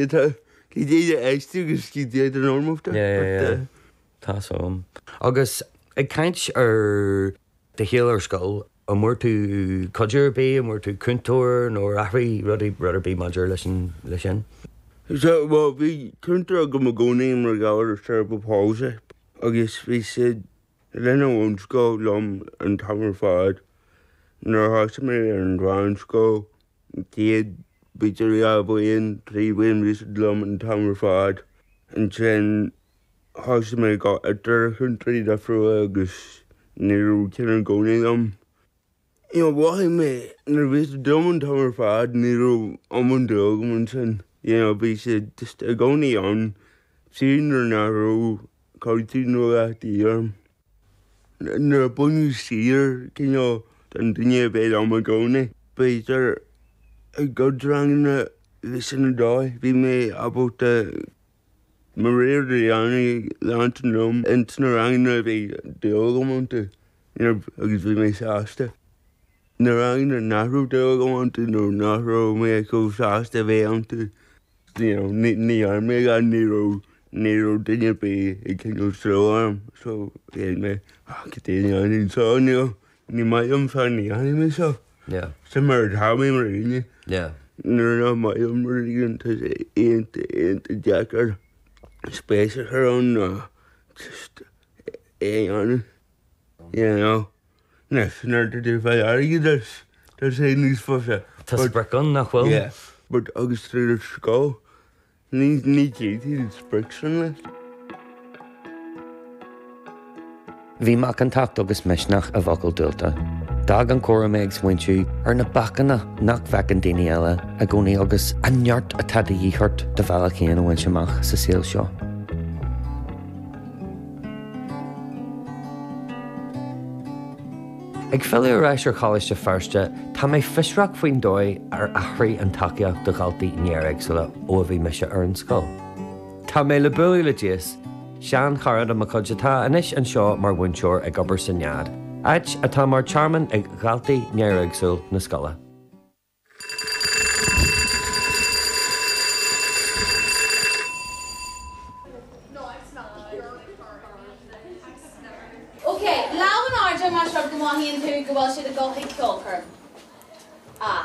Tá cad é éist agus cad é do normal. Yeah, yeah, yeah. Tá so. Agus ag caint ar do shaol ar scoil, an bhfuair tú cuidiú ar bith, an bhfuair tú cúntóir nó ar athraigh rudaí, rud ar bith maidir leis an, leis sin? So, bhuel, bhí cúntóir agam i gcónaí mar gheall ar cerebral palsy agus bhí siad linn an bhunscoil liom an t-am ar fad. Nuair a thosaigh mé ar an mheánscoil, chéad b'fhéidir 2 bhliain, 3 bhliain bhí siad liom an t-am ar fad. Ansin thosaigh mé ag dul idir chúntóirí difriúla agus ní raibh ceann i gcónaí liom. You know, mhothaigh mé nuair a bhí siad liom an t-am ar fad ní raibh iomlán dúil agam ansin. You know, bhí siad just i gcónaí ann, fiú nuair nach raibh cuidiú nó a dhath de dhíth orm. Nuair a baineadh siar cineál den duine a bheith liom i gcónaí, b'fhéidir i gcuid ranganna bhí sin an dóigh, bhí mé ábalta mo rogha a dhéanamh leanstan liom ins na ranganna a bhí dúil agam iontu agus bhí mé sásta. Na ranganna nach raibh dúil agam iontu nó nach raibh mé chomh sásta a bheith iontu, you know, ní dhearna mé a dhath, ní raibh, ní raibh duine ar bith ag cineál stró orm so dhéan mé, ah, cad é a dhéanfainn anseo, you know, ní maith liom seo, ní dhéanfaidh mé seo. Yeah. Sin mar atá mé mar dhuine. Yeah. Nuair nach maith liom rud éigin tá sé iontach, iontach deacair spéis a chur ann ná just é a dhéanamh. You know, anois nuair atá tú ag fáil airgid as, tá sé níos fusa. Tá sprioc ann, nach bhfuil? Yeah, but agus tú ar scoil, ní ní d'fhéadfaí an sprioc sin leis. Bhí macántacht agus misneach i bhfocail Dualta. D'fhág an comhrá mé ag smaointiú ar na bacanna nach bhfeiceann daoine eile i gcónaí agus an neart atá de dhíth ort do bhealach féin a bhaint amach sa saol seo. Ag filleadh ar ais ar Choláiste Feirste, tá mé fiosrach faoin dóigh ar athraigh an tacaíocht do dhaltaí néaréagsúla ó a bhí mise ar an scoil. Tá mé le bualadh le Jace, seanchara de mo chuid atá anois anseo mar mhúinteoir ag obair sa Nead, áit atá mar tearmann ag dhaltaí néaréagsúil na scoile. Ok, lámh in airde más rud go mothaíonn tú go bhfuil siad ag dul chuig ceolchoirm. A.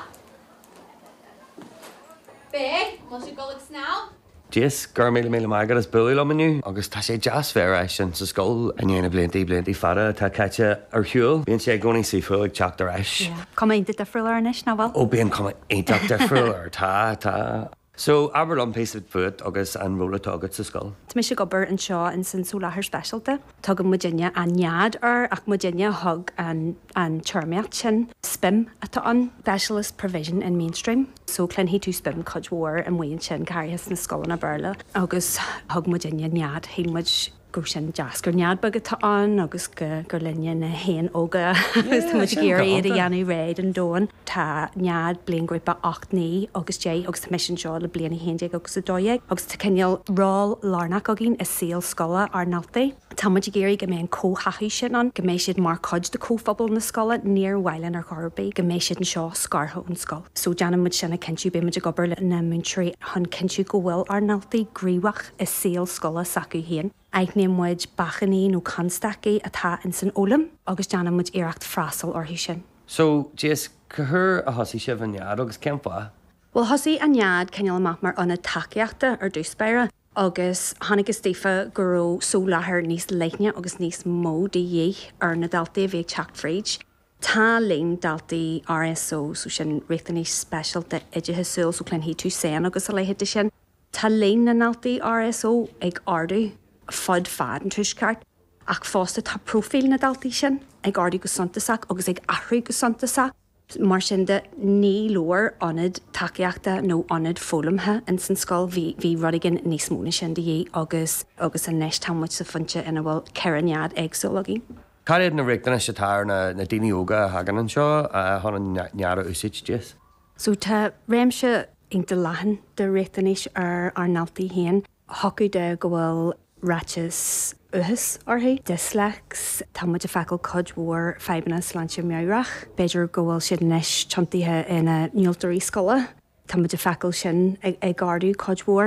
B, an bhfuil siad ag dul ag snámh? Jace, go raibh míle míle maith agat as bualadh liom inniu agus tá sé deas bheith ar ais in sa scoil i ndiaidh na blianta, blianta fada atá caite ar shiúl. Bíonn sé i gcónaí saoithiúil ag teacht ar ais. Yeah. Cuma iontach difriúil air anois, nach bhfuil? Ó bíonn cuma iontach difriúil air, tá, tá. So, abair liom píosa fút agus an ról atá agat sa scoil. Tá mise ag obair anseo ins an soláthar speisialta. Tugann muidinne an Nead air ach muidinne a thug an an téarmaíocht sin. SPIM atá ann, Specialist Provision in Mainstream. So cluinfidh tú SPIM cuid mhór amuigh ansin, go háirithe sna scoileanna Béarla. Agus thug muidinne Nead, shíl muid go raibh sin deas, gur nead beag atá ann agus go gur linne na héin óga agus tá muid ag iarraidh iad a dhéanamh réidh don domhan. Tá Nead bliainghrúpa 8, 9 agus 10 agus tá mise anseo le bliain 11 agus 12 agus tá cineál ról lárnach againn i saol scoile ár ndaltaí. Tá muid ag iarraidh go mbeidh an comhtháthú sin ann, go mbeidh siad mar chuid de chomhphobal na scoile. Níor mhaith linn ar chor ar bith go mbeidh siad anseo scartha ón scoil. So déanann muid sin a chinntiú, beidh muid ag obair le na múinteoirí chun cinntiú go bhfuil ár ndaltaí gníomhach i saol scoile s'acu féin. Aithníonn muid bacainní nó constaicí atá ins an fhoghlaim agus déanann muid iarracht freastal orthu sin. So, Jace, cá huair a thosaigh sibh an Nead agus cén fáth? Bhuel, thosaigh an Nead cineál amach mar ionad tacaíochta ar dtús báire. agus chonacthas daofa go raibh soláthar níos leithne agus níos mó de dhíth ar na daltaí a bhí ag teacht fríd. Tá líon daltaí RSO, so sin riachtanais speisialta oideachasúil, so cluinfidh tú SEN agus a leithéid de sin, tá líon na ndaltaí RSO ag ardú fud fad an Tuaisceart ach fosta tá próifíl na ndaltaí sin ag ardú go suntasach agus ag athrú go suntasach. Mar sin de, ní leor ionad tacaíochta nó ionad foghlamtha ins an scoil, bhí bhí rud éigin níos mó na sin de dhíth agus agus anois tá muid sa phointe ina bhfuil 4 nead éagsúil againn. Cad iad na riachtanais atá ar na na daoine óga a thagann anseo chun an nead a úsáid, Jace? So tá réimse iontach leathan de riachtanais ar ár ndaltaí féin. Thiocfadh de go bhfuil ráiteas uathachais orthu, dislex, tá muid ag feiceáil cuid mhór fadhbanna sláinte meabhrach, b'fhéidir go bhfuil siad anois tiontaithe ina ndiúltóirí scoile. Tá muid ag feiceáil sin ag ardú cuid mhór.